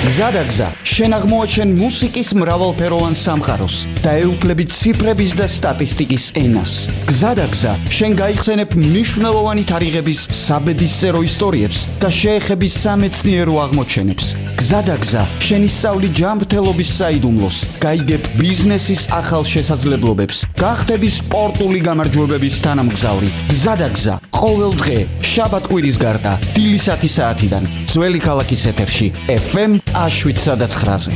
გზადაგზა შენ აღმოაჩენ მუსიკის მრავალფეროვან სამყაროს და ეუფლები ციფრების და სტატისტიკის ენას. გზადაგზა შენ გაიხსენებ მნიშვნელოვანი თარიღების საბედისწერო ისტორიებს და შეეხები სამეცნიერო აღმოჩენებს. გზადაგზა შენ ისწავლი ჯანმრთელობის საიდუმლოს, გაიგებ ბიზნესის ახალ შესაძლებლობებს, გახდები სპორტული გამარჯვებების თანამგზავრი. გზადაგზა ყოველ დღე შაბათ-კვირის გარდა დილის 10 საათიდან ძველი ქალაქის ეთერში FM 7-9-ზე.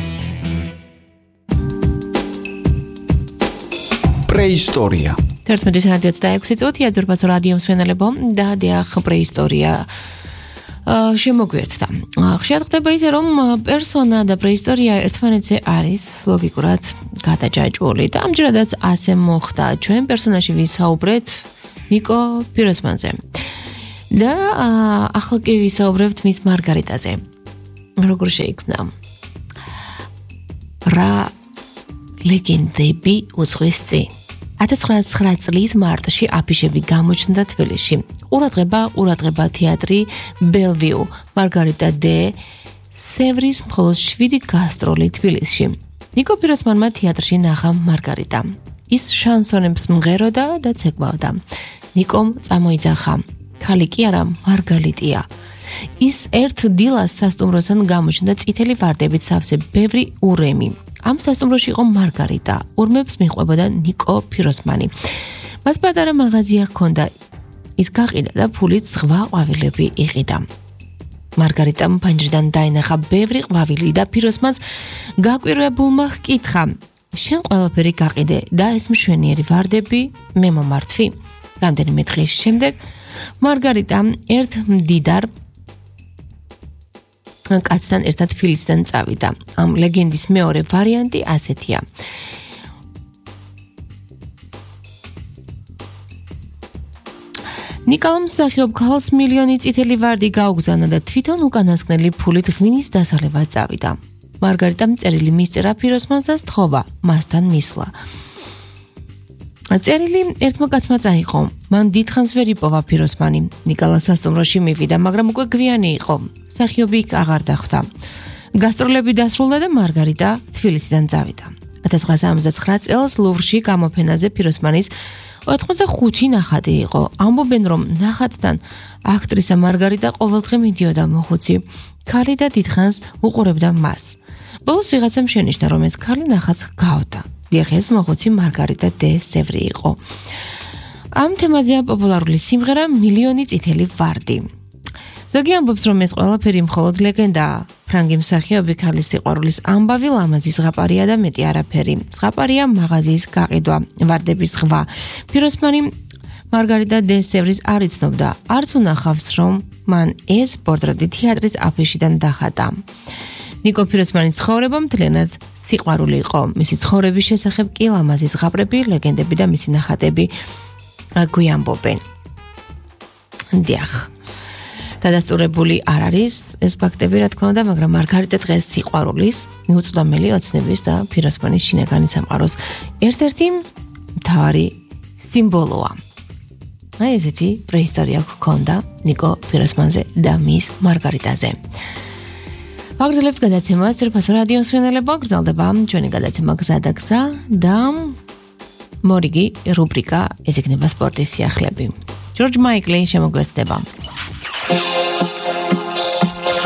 პრეისტორია 11:26 წუთია ძურბას რადიო მსმენელებო და დიახ პრეისტორია შემოგვერთდა. ხშირად ხდება ისე რომ პერსონა და პრეისტორია ერთმანეთზე არის ლოგიკურად გადაჯაჭვული და ამჯერადაც ასე მოხდა. ჩვენ პერსონაჟი ვისაუბრეთ ნიკო პიროსმანზე და ახლა კი ვისაუბრებთ მის მარგარიტაზე. როგორ შეიქმნა? რა ლეგენდები უძღვის წინ? 1909 წლის მარტში აფიშები გამოჩნდა თბილისში. ყურადღება თეატრი ბელვიუ, მარგარიტა დე სევრის მხოლოდ 7 გასტროლი თბილისში. ნიკო პიროსმანმა თეატრში ნახა მარგარიტა. ის შანსონებს მღეროდა და ცეკვავდა. ნიკომ წამოიძახა. ქალი კი არა, მარგალიტია. ის ერთ დილას სასტუმროსთან გამოჩნდა წითელი ვარდებით სავსე ბევრი ურემი. ამ სასტუმროში იყო მარგარიტა. ურმებს მიყვებოდა ნიკო პიროსმანი. მას პატარა მაღაზია ჰქონდა. ის გაყიდა და ფულით ზღვა ყვავილები იყიდა. მარგარიტამ ფანჯრიდან დაინახა ბევრი ყვავილი და პიროსმანს გაკვირვებულმა ჰკითხა: შენ ყველაფერი გაყიდე და ეს მშვენიერი ვარდები მე მომართვი? რამდენიმე დღის შემდეგ მარგარიტა ერთ მდიდარ კაცთან ერთად თბილისიდან წავიდა. ამ ლეგენდის მეორე ვარიანტი ასეთია. ნიკოლამ მსახიობ ქალს მილიონი წითელი ვარდი გაუგზავნა და თვითონ უკანასკნელი ფულით ღვინის დასალევად წავიდა. მარგარიტამ წერილი მისწერა პიროსმანს და სთხოვა მასთან მისვლა. წერილი ერთმა კაცმა წაიღო. მან დიდხანს ვერ იპოვა პიროსმანი. ნიკოლა სასტუმროში მივიდა, მაგრამ უკვე გვიანი იყო. მსახიობი იქ აღარ დახვდა. გასტროლები დასრულდა და მარგარიტა თბილისიდან წავიდა. 1969 წელს ლუვრში გამოფენაზე პიროსმანის 85 ნახატი იყო. ამბობენ, რომ ნახატთან აქტრისა მარგარიტა ყოველდღე მიდიოდა მოხუცი. ქალი და დიდხანს უყურებდა მას. ბოლოს ვიღაცამ შენიშნა, რომ ეს ქალი ნახატს ჰგავდა. დიახ, ეს მოხუცი მარგარიტა დე სევრი იყო. ამ თემაზეა პოპულარული სიმღერა მილიონი წითელი ვარდი. ზოგი ამბობს, რომ ეს ყველაფერი მხოლოდ ლეგენდაა. ფრანგი მსახიობი ქალის სიყვარულის ამბავი ლამაზი ზღაპარია და მეტი არაფერი. ზღაპარია მაღაზიის გაყიდვა, ვარდების ზღვა. პიროსმანი მარგარიტა დე სევრის არ იცნობდა, არც უნახავს, რომ მან ეს პორტრეტი თეატრის აფიშიდან დახატა. ნიკო პიროსმანის ცხოვრება მთლიანად სიყვარული იყო. მისი ცხოვრების შესახებ კი ლამაზი ზღაპრები, ლეგენდები და მისი ნახატები გვიამბობენ. დიახ. დადასტურებული არ არის ეს ფაქტები, რა თქმა უნდა, მაგრამ მარგარიტა დღეს სიყვარულის, მიუწვდომელი ოცნების და პიროსმანის შინაგანი სამყაროს ერთ-ერთი მთავარი სიმბოლოა. აი ესეთი პრეისტორია გქონდა ნიკო პიროსმანზე და მის მარგარიტაზე. აგრძელებთ გადაცემას ძვირფას რადიო მსმენელებო, გრძელდება ჩვენი გადაცემა გზადაგზა და მორიგი რუბრიკა ეს იქნება სპორტის სიახლეები. ჯორჯ მაიკლი შემოგვერთდება.